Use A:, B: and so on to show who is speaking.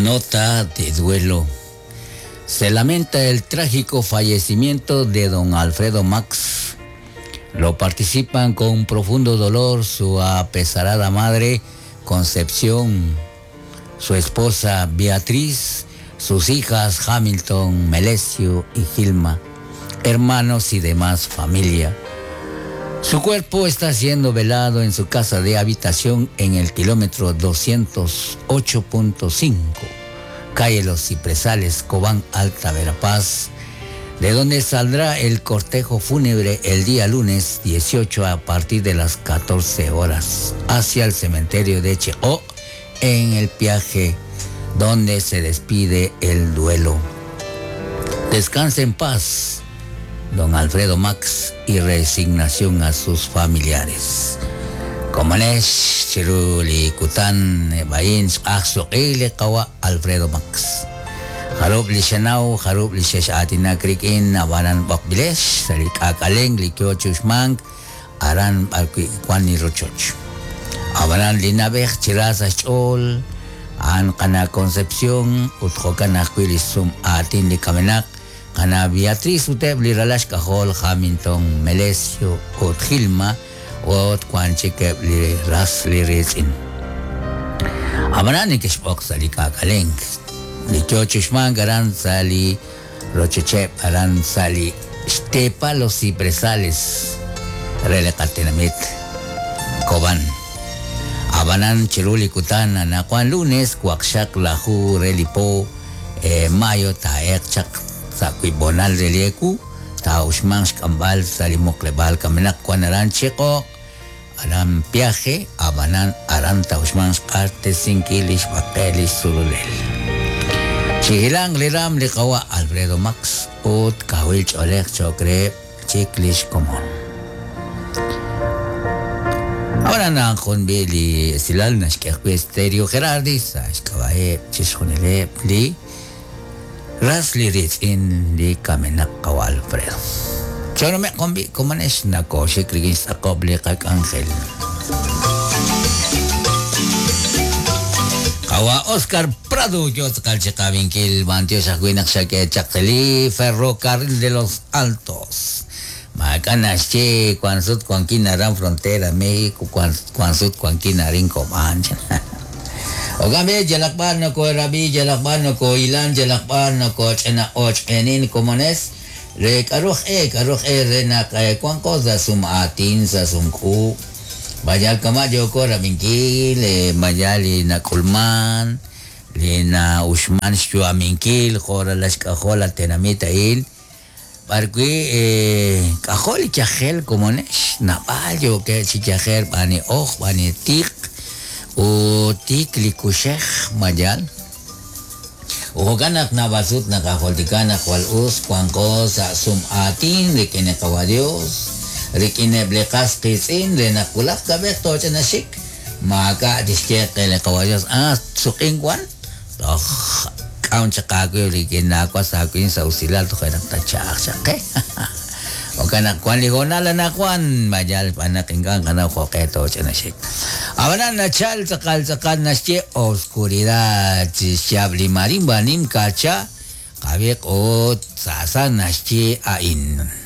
A: Nota de duelo. Se lamenta el trágico fallecimiento de don Alfredo Max. Lo participan con profundo dolor su apesarada madre Concepción, su esposa Beatriz, sus hijas Hamilton, Melesio y Gilma, hermanos y demás familia. Su cuerpo está siendo velado en su casa de habitación en el kilómetro 208.5, calle Los Cipresales, Cobán, Alta Verapaz, de donde saldrá el cortejo fúnebre el día lunes 18 a partir de las 14 horas hacia el cementerio de Cheó en el Piaje, donde se despide el duelo. Descanse en paz, don Alfredo Max, y resignación a sus familiares. Komanesh, Chiruli, Kutan, Bain, Axoqili, Kawa, Alfredo Max. Harub li Xanaw, harub li Xex atina Krikin, Abanan Bokbilesh, Salik Akaleng, Likyo Chushmank, Aran Barki Kwani Rochoch. Abanan Linabej, Chirasa Chol, An Kana Concepción, Utjokan Aquilisum Atin li Kamenak, Kana Beatriz Uteb li Ralash Kajol, Hamilton, Melesio, Ut Gilma, Ut Kwanchikeb li Ras li Rizin. Abanan ni Kishbok Salik Akaleng, li Chochushman Garan Sali Rochechep Aran Sali Xtepa Los Cipresales Relekatenamit Koban. Abanan Chiruli Kutan Anakuan lunes Kuakshak Lahu Relipo Mayo Taek Chak Sakuibonal Relieku Taushman Xkambal Salimokrebal Kamenak Kuanaran Chico Aran Piaje Abanan Aran Taushman Xkarte Sinkilish Bakelis Surulel. Chihilang liram likawa Alfredo Max ut kawil cholek chokre chiklish komon. Ahora na kon bili silal na shkekwe stereo Gerardi sa shkawae chishkunile li ras li ritz in li kamenak kawa Alfredo. Chono me kombi komanesh na ko shikrigin sa kobli kak Angel. Kawa Oscar Prado, yo kalchikabinkil, bantio shakuinak shake chakeli, ferrocarril de los Altos. Macanache, Cuanzut, Cuanquina, Frontera, México, Cuanzut, Cuanquina, Rinco, Mancha. Ogambe, Jalakban, no ko Rabi, Jalakban, no ko Ilan, Jalakban, no ko Chena, Och, Enin, Comones, Re, Karuj, E, Karuj, E, Renak, Cuanco, Zasum, Atin, Zasum, Ku. Bayal kama joko rabinkil, bayal na kulman, na ushman shuaminkil, jora las cajola tenamita il. Parqui cajol chajel como nesh, naballo que chichajel bani oj, bani tik, o tik likushej mayal. Ujokanak nabasut nakajoltikana cual us, cuan cosa sum atin, rikine Dios. Rikine blekas kisin, le nakulak kabek to chanashik. Maka dishke kele kawadyos. Ah, suking kwan. Toh, kaun chakaku rikine akwa sakuin sa usilal to kaya tachak chake. O kanak kwan ligona la nakwan majal panak ingkan kana koketo chanashik. Abanan na chal sakal sakal na oscuridad chabli marimba nim kacha kabek o sasa na ain.